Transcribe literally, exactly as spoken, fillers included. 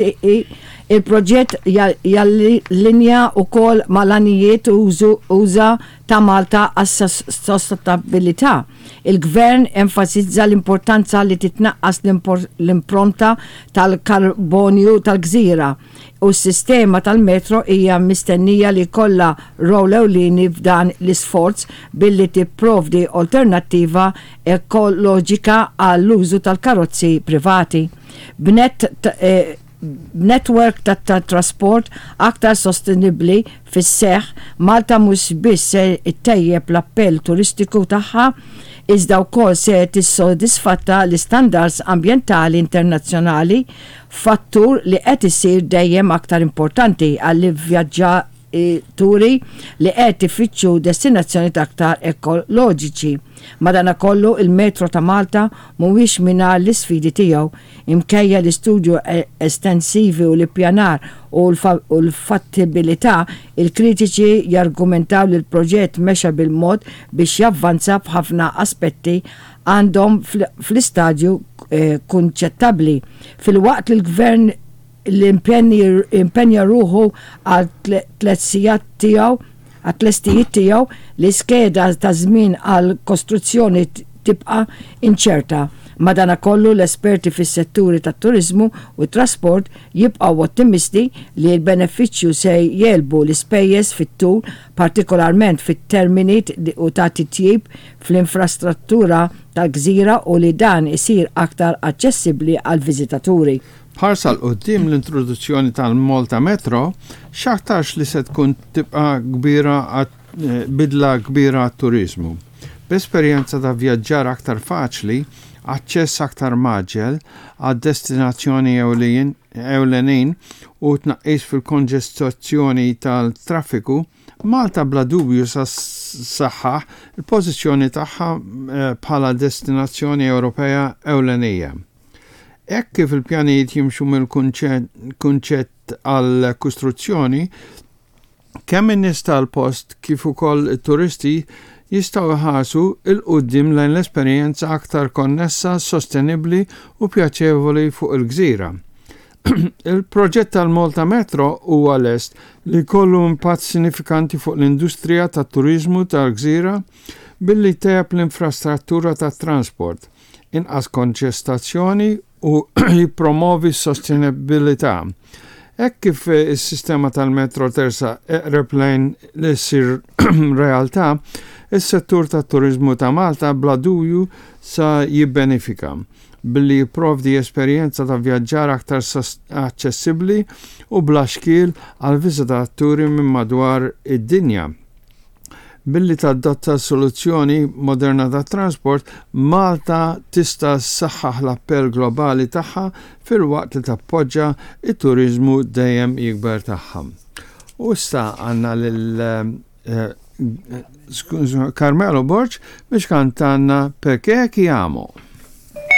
Il-proġett jallinja wkoll mal-għanijiet usa' ta' Malta għas-sostenibbiltà. Il-Gvern enfasizza l-importanza li titnaqqas l-impronta tal-karbonju tal-gżira u s-sistema tal-metro hija mistennija li jkollha rwol ewlieni f'dan l-isforz billi tipprovdi alternattiva ekoloġika għall-użu tal-karozzi privati. B'net eh, network ta' trasport aktar sostenibli fis-seħ, Malta mhux biss se ttejjeb l-appell turistiku tagħha, iżda wkoll se tissodisfatta l-istandards ambjentali internazzjonali, fattur li qed isir dejjem aktar importanti għall-vjaġġaturi li qed ifittxu destinazzjoni aktar ekoloġiċi. Madanakollu, il-Metro ta' Malta mhuwiex mingħajr l-isfidi tiegħu. Minkejja l-istudju estensivi u l-ippjanar u l-fattibilità, il-kritiċi jargumentaw li l-proġett mexa bil-mod biex javvanza, b'ħafna aspetti għadhom fl-istadju eh, kunċettwali. Filwaqt li l-gvern l-impenja ruħu għal tlestija tiegħu għat-tlestijiet tiegħu, l-iskeda ta' żmien għal kostruzzjoni tibqa' inċerta. Madanakollu, l-esperti fis-setturi tat-turizmu u trasport jibqgħu ottimisti li l-benefiċċju se jegħlbu l-ispejjeż fit-tul, partikolarment fit-termini u ta' titjib fl-infrastruttura tal-gżira u li dan isir aktar aċċessibbli għal viżitaturi. B'ħarsa 'l quddiem, l-introduzzjoni tal-Malta Metro x'aktarx li se tkun tibqa kbira eh, bidla kbira għat-turizmu. B'esperjenza ta' vjaġġar aktar faċli, aċċess aktar mgħaġġel għad destinazzjoni ewlenin u tnaqqis fil-konġestjazzjoni tal-traffiku, Malta bla dubju sa ssaħħaħ il-pożizzjoni tagħha eh, bħala destinazzjoni Ewropea ewlenija. Hekk kif il-pjanijiet jimxu mill-kunċett għal kostruzzjoni, kemm in-nies tal-post kif ukoll it-turisti jistgħu jħarsu 'l quddiem lejn l-esperjenza aktar konnessa, sostenibbli u pjaċevoli fuq il-gżira. Il-proġett tal-Malta Metro huwa lest li jkollu impatt sinifikanti fuq l-industrija tat-turizmu tal-gżira billi tejjeb l-infrastruttura tat-transport, inaqqas konġestjazzjoni u jippromovi s-sostenibilità. Hekk kif is-sistema tal-metro tersaq eqreb lejn li ssir realtà, is-settur tat-turizmu ta' Malta bla dubju sa jibbenefika billi jipprovdi esperjenza ta' vjaġġar aktar aċċessibbli u bla xkiel għal viżitaturi minn madwar id-dinja. Billi tadotta soluzzjoni moderna ta' trasport, Malta tista' ssaħħaħ l-appell globali tagħha filwaqt li tappoġġa it-turizmu dejjem jikber tagħha. U issa għandna lil eh, Carmelo Borg biex jkantalna "Perché ti amo".